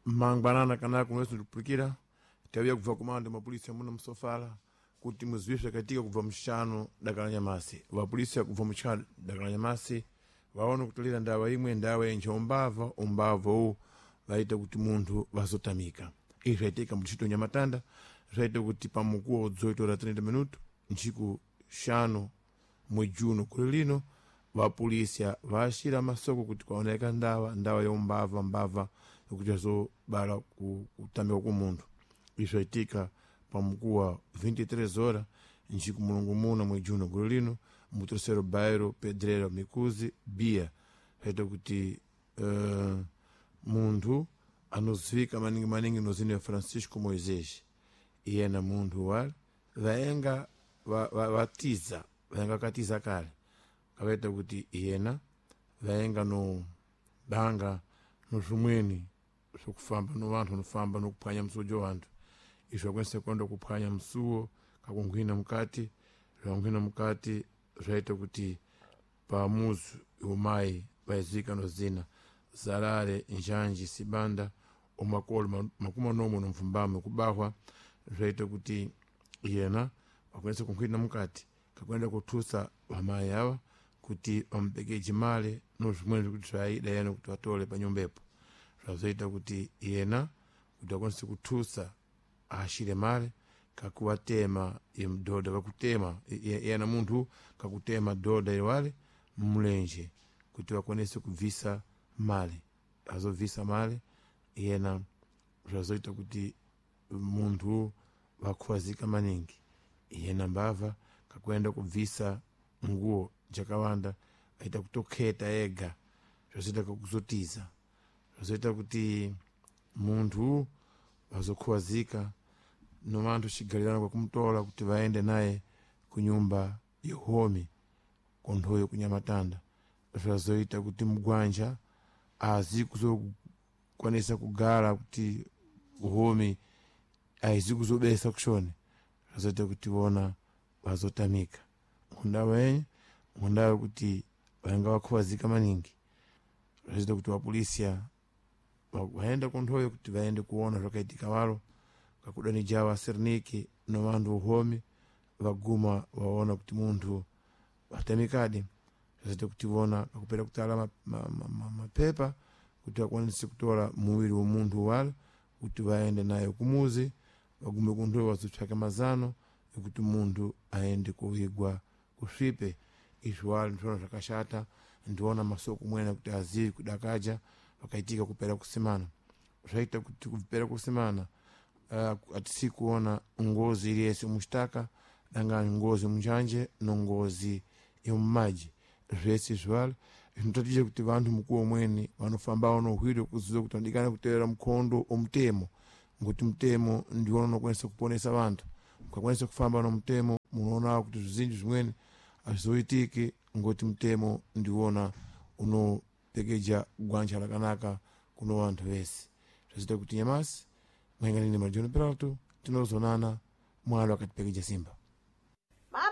Mangwanana kanako mwezi ndikupulikira tawia kubva kumando mapolisi amuna msofala kuti muziwiswe katika kubva mxano dakala nyamasi. Vapolisi kubva mxano dakala nyamasi vaona kutolera ndawa imwe, ndawa yenje umbava umbava uwu vaita kuti munthu vazotamika. Izvi zvaitika muntchito Nyamatanda, zvaita kuti pamukuwo 18 horas 30 minuto ntchiku 5 mwezi uno kuli lino, vapolisi vaashira masoko kuti kwaoneka ndawa, ndawa ya umbava mbava yokuti azobala kutamika ku munthu. Izvi zvaitika pamukuwa 23 horas njiku mulungu muna mwezi uno gulu lino mu terceiro bairro Pedreira Mikuzi Bia. Zvaita kuti munthu anozivika maningi maningi nozina Francisco Moisés, iyena munthu wale vaenga vatiza vaenga katiza kale, kavaita kuti iyena vaenga no banga no zvimweni zvokufamba no vanthu vanofamba nokuphwanya msuwo wa vanthu. Izvo vakwanisa kuenda kuphwanya msuwo kakunghwina mukati, zvakunghwina mukati zvaita kuti pamuzi umayi vaizika nozina Zalale Njanji Sibanda umakolo 40 nomvumbamwe kubahwa. Zvaita kuti yena wakwanisa kunkhwina mukati kakuenda kuthusa vamayi awa kuti vamupekeje male no zvimweni zvikuti zvaida yena kuti vatole panyumbepo. Zvazoita kuti yena kuti akwanise kuthusa ashire male kakuwatema mdhoda kakutema yena munthu kakutema dhoda iwale mmulenje kuti vakwanise kubvisa male. Azobvisa male yena zvazoita kuti munthu vakhwazika maningi. Yena mbava kakuenda kubvisa nguo jakawanda aita kutokheta ega, zvazoita kakuzotiza, zvazoita kuti munthu vazokhwazika no vanthu xigalirana kwakumutola kuti vaende naye kunyumba yohomi konthoyo kunyamatanda. Zvazoita kuti mugwanja azi kuzokwanisa kugala kuti homi aizi kuzobesa kushoni, zvazoita kuti vona vazotamika ngundawa yenye ngundawa kuti vainga vakhwazika maningi. Zvazoita kuti vapolisia vaenda konthoyo kuti vaende kuona zvakaitika walo kakudanijawa asirniki no vanthu uhomi vaguma vaona kuti munthu watamikadi. Zvazoita kuti vona kakupera kutala mapepa kuti vakwanise kutola muwiri wa munthu wale kuti vaende naye kumuzi, vagume kunthoyo vazopsaka mazano ekuti munthu aende kuvigwa kusvipe. Izvi wale ndiwona zvakashata, ndiwona masoko mwene kuti azivi kudakaja vakaitika kupera kusimana. Zvaita kuti kupera kusimana atisi kuona ngozi iliyese muxitaka dangani ngozi munjanje no ngozi yomumaji. Zvese izvi zvinotatija kuti vanthu mukuwo umweni vanofambawo nohwiro kuziva kuti vanodikana kutevera mukhondo omutemo, ngokuti mutemo ndiwona unokwanisa kuponesa vanthu. Mukakwanisa kufamba no mutemo munoona kuti zvizinji zvimweni azvizoitiki ngokuti mutemo ndiwona unopekeja gwanja lakanaka kuno vanthu vese. Zvazoita kuti nyamasi mwenganini Marijono Peralto tinozonana mwalo akatipekeja simba.